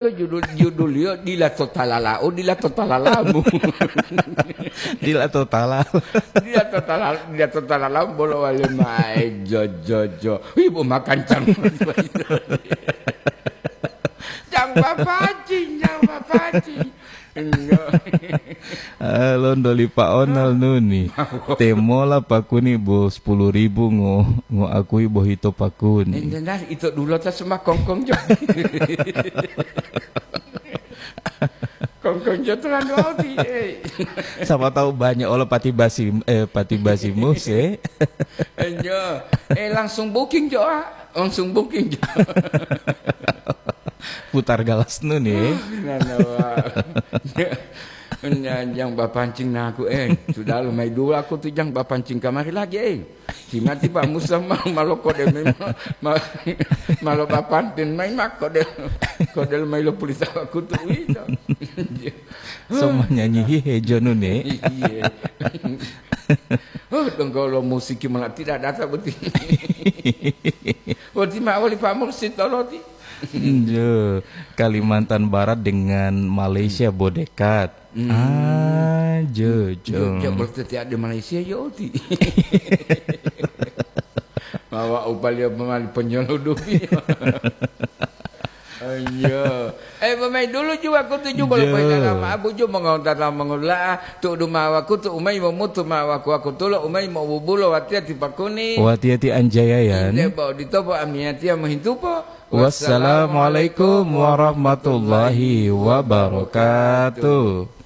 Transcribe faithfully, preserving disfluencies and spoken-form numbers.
Judul, juduliyo dila to talalau, dila to talalamu. Dila to talal. Dila to talal, dila to talalamu bolo wale mae jo jo jo. Ibu makan cang. Cang papaci, cang papaci. Enggak. Ah, londo li Pak Onal nuni. Temola pakuni bo sepuluh ribu ngo, ngo akui bohito pakuni. Enggak, ito dulu tas makongkong jo. Kongkong jo tulan wau ti. Eh. Siapa tahu banyak ola pati basi eh pati basi mus eh. Enjo. Eh, langsung booking jo, ah. Langsung booking jo. Putar galas nuni. Nana wa. Nya jang bapancing naku, eh, sudah lo mai dulu aku tu jang bapancing kamari lagi, eh. Timati Pak Musa ma, malo kode memang ma, malo bapantin mai mak kode kode lo mai lo pulisa aku tu ito. Sama nyanyi hihe jonu ne. Iya. Oh, donggo lo musik malah tidak datang betul. Berarti ma wali Pak Mursid toloti. Jo, Kalimantan Barat dengan Malaysia bo dekat. Ah, jo, jo. Jogja berarti tiada di Malaysia ya oti. Mawa upali apa mali penyelundupi. Iya. Eh, pemain dulu juga aku tuju bolo Jo. Dalam abu ju mengontar mengula tu duma aku tu umai memutu ma aku aku tulo umai mau bubulo watia tipakuni. Wati-ati anjayayan. Inde bau ditopo amiatia mehintupo. Wassalamualaikum warahmatullahi wabarakatuh.